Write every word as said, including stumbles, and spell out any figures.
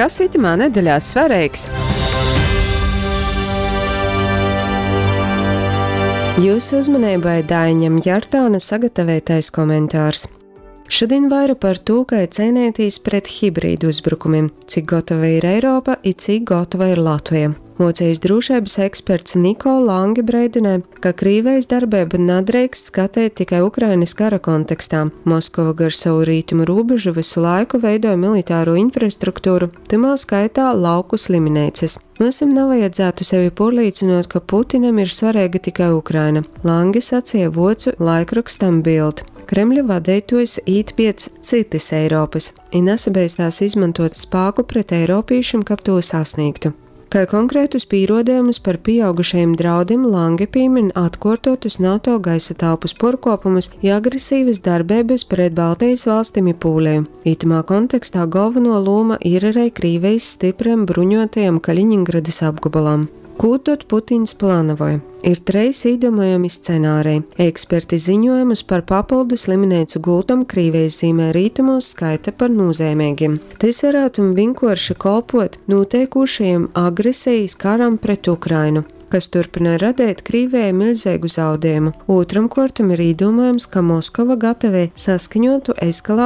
Kas itymā nedeļā svareigs? Jūsu uzmanībai Daiņam Jartāna sagatavotais komentārs. Šodien vaira par tū, kai ceinētīs pret hibrīdu uzbrukumiem, cik gotova ir Eiropa i cik gotova ir Latvija. Vuocejis drūšeibys eksperts Niko Lange breidynoj, ka Krīvejis darbeibu nadreikst skateit tikai Ukrainys kara kontekstā. Moskova gar sovu rītumu rūbežu vysu laiku veidoj militāro infrastrukturu, tymā skaitā lauku slimineicys. Myusim navajadzētu sevi puorlīcynuot, ka Putinam ir svareiga tikai Ukraina, Lange saceja vuocu laikrokstam Bild. Kremļa vadeituojs īt piec cytys Eiropys i nasabeistās izmontuot spāku pret eiropīšim, kab tū sasnīgtu. Kai konkrētus pīruodejumus par pīaugušajim draudim Lange pīmin atkuortuotus NATO gaisa telpys puorkuopumus i agresivys darbeibys pret Baltejis valstim i Pūleju. Itymā kontekstā golvonuo lūma ir ari Krīvejis styprajam bruņuotajam Kaļiņingradys apgobolam. Kū tod Putins planavoj? Ir treis īdūmojami scenāreji. Eksperti ziņojumus par papildu slimineicu gultom Krīvejis zīmeļrītumūs skaita par nūzeimeigim. Tys varātu vīnkuorši kolpuot nūteikūšajam agresejis karam pret Ukrainu, kas turpynoj radeit Krīvejai miļzeigu zaudiejumu. Ūtram kuortam ir īdūmojams, ka Moskova gatavej saskaņuotu eskalāceju